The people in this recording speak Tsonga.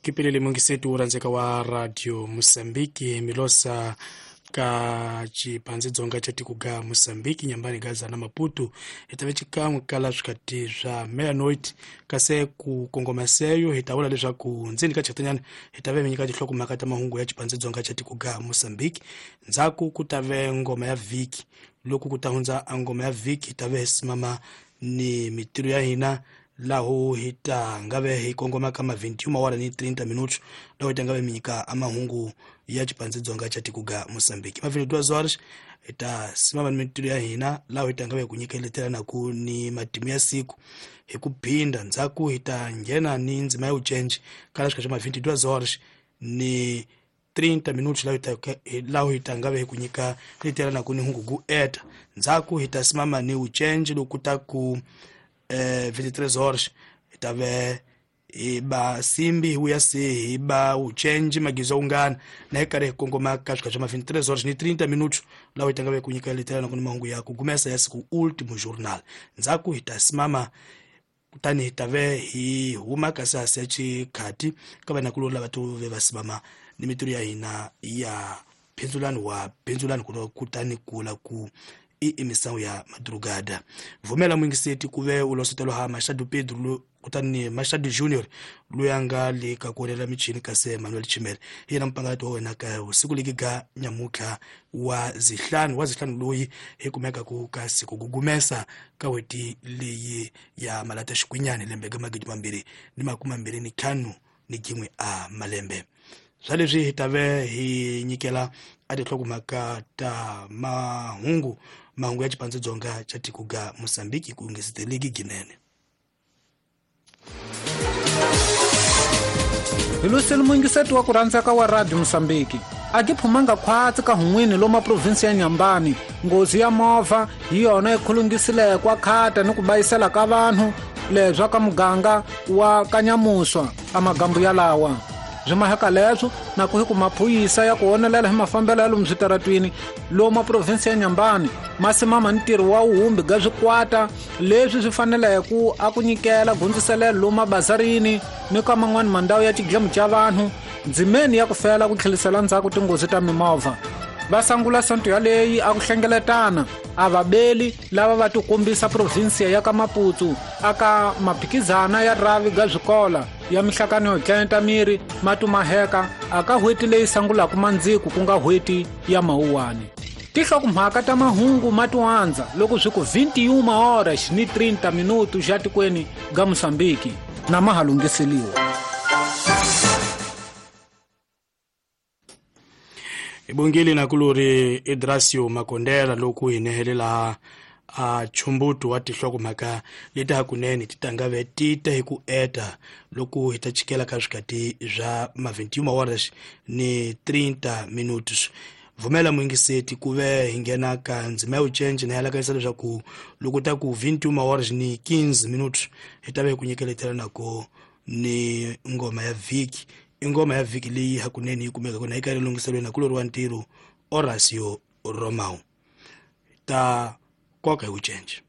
Kipelele mungisetu uranzeka wa Radio Mosambiki milosa ka chipanze dzonga cha tikuga Mosambiki nyambani Gaza na Maputo hitave chikan'we kala swikati swa meia-noite kasi ku kongoma seyo hi ta vula leswaku ndzeni ka chatanyana hi ta ve mi nyika tinhlokomhaka ta mahungu ya chipanze dzonga cha tikuga Mosambiki. Ndzhaku ku ta ve ngoma ya vhiki, loko ku ta hundza a ngoma ya vhiki hi ta ve hi simama ni mitirho ya hina laho hi ta nga ve hi kongoma ka ma 21 awara ni 30 minutos laho hi ta nga ve mi nyika amahungu ya chipanze dzonga cha tikuga Mosambiki. Ma 22 horas hi ta simama ni mitirho ya hina laho hi ta nga ve ku nyikeletela ku ni matimu ya siku hi ku phinda. Ndzhaku hi ta nghena ni ndzima ya ucenji kala swika swa ma 22 horas ni 30 minutos laho hi ta nga ve hi ku nyika letela ku ni hungu ku eta. Ndzhaku hi ta simama ni ucenji loko ta ku 23 horas hi ta ve hi ba simbi hi vuya se hi ba ucenji magizo ungana na hi karhi hi kongoma ka swika swa ma 23 horas ni 30 minutos laho hi ta nga ve ku nyika letela ku ni mahungu ya ku gumesa ya siku ultimo journal. Ndzhaku hi ta simama kutani hi ta ve hi huma kasi hasi ya xikhati ka vanakulori lava to ve va simama ni mitirho ya hina ya phindzulani wa phindzulani kutani kula ku i emisangu ya madrugada. Vumela mwingiseti ku ve u losetelo ha Machado Pedro kutani Machado Junior loyi a nga le ka ku onela michini kasi Manuel Chimele hi yena mupangalato wa wena ka siku leki ga nyamutlha wa zihlanu loyi hi kumeka ku ka siku gugumesa ka weti leyi ya malata xikwinyani lembe ga 2025 ni gin'we a malembe. Swa leswi hi ta ve hi nyikela a tinhlokomhaka ta mahungu ya chipanze dzonga cha tiko ga Mosambiki ku ngeseteleki ginene. Hi luseli mungiseti wa ku rhandzaka wa Radio Mosambiki a ki phumanga khwatsi ka hun'wini loma provinsi ya Nyambani. Nghozi ya movha hi yona yi khulungisile kwa khata ni ku bayisela ka vanhu leswa ka muganga wa Kanyamuswa a magambu yalawa. Byi maheka leswo na ku hi ku maphuyisa ya ku onelela hi mafambelo ya lomu switaratwini loma provinsi ya Nyambani ma simama ntirho wa wuhumbi ga swikwata leswi swi faneleke a ku nyikela gundziselelo lomu mabazarini ni ka man'wani mandhawu ya xidlemu xa vanhu ndzimeni ya ku fela ku tlhelisela ndzhaku tinghozi ta mimovha. Va sangula sonto yaleyi a ku hlengeletana a vabeli lava va tikombisa provinsiya ya ka Maputo aka maphikizana ya ravi ga swikola ya mihlakano yo tlenta miri matumaheka aka hweti leyi sangulaka mandziku ku nga hweti ya mawuwani. Tinhlokomhaka ta mahungu matiwandza loko swi ku 21 horas ni 30 minutos xa tikweni ga Mosambiki na ma ha lunghiseliwa. Ibongile nakulori Idrasio Makondela loko hi nehelela a chumbutu wa tinhlokomhaka leti hakunene ti ta nga ve ti ta hi ku eta loko hi ta chikela ka swikati swa ma 21 horas ni 30 minutos. Vumela mwingiseti ku ve hi nghena ka ndzima ya ucenji na yalakayisa leswaku loko ta ku 21 horas ni 15 minutos hi ta ve hi ku nyikeletela nako ni ngoma ya vhiki. I ngoma ya vhiki leyi hakunene yi kumeka kona yi karhi lunghiselweni nakulori wa ntirho Horacio Romao ta koka hi ucenji.